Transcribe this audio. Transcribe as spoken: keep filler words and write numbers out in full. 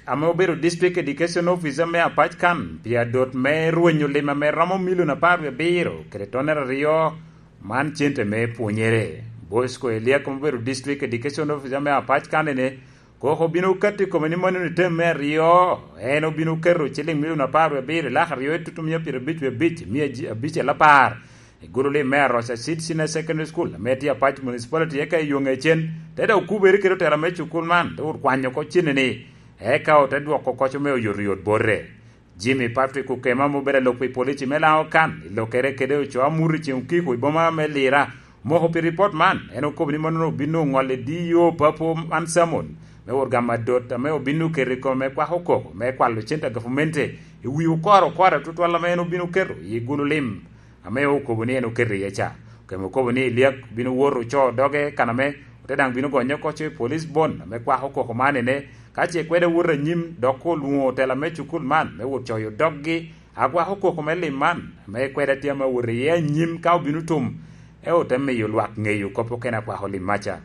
ame obedo District Education Officer me Apac kan pi adot me rwenyo lim ame romo milion apar wie abiro kede tonere aryo, man cente me pwonyere. Bosco Eliak ame obedo District Education Officer me Apac kan ene koko obino katti kome ni mano ni tem me aryo, en obino keto ciliŋ milion apar wie abiro lak aryo i tutumia pyerabic wie abic mia abic el apar i gulu lim me Aroca Seed Senior Secondary School ame tye Apac Municipality eka i yo ŋecen te dok okubere kede otela me cukul man te wot kwanyo oko cene-ni, eka ote dwoko koco me oyotoyot bote. Jimmy Patrick Okema ame obedo alok pi polici me Laŋo kan i lokere kede ocoo amut i ceŋ okiko i boma me Lira omoko pi ripot man. En okobo ni mannono obino ŋolo i D O Papo man Samon me wot gamo adot ame obino keto i kome me kwako koko me kwalo cente a gavamente i wi okoro okoro tutwal ame en obino keto i gulu lim ame okobo ni en oketo iye ca. Okemo okobo ni Eliak bino wot ocoo doge kan ame ote daŋ bino gonye oko i police bond ame kwako koko man ene, ka ce kwede wot anyim dok olwoŋo otela me cukul man me wot coyo doggi a kwako koko me lim man ame kwede tye ame wot iye anyim ka obino tum, e ote miyo lwak ŋeyo kop okene a kwako lim maca.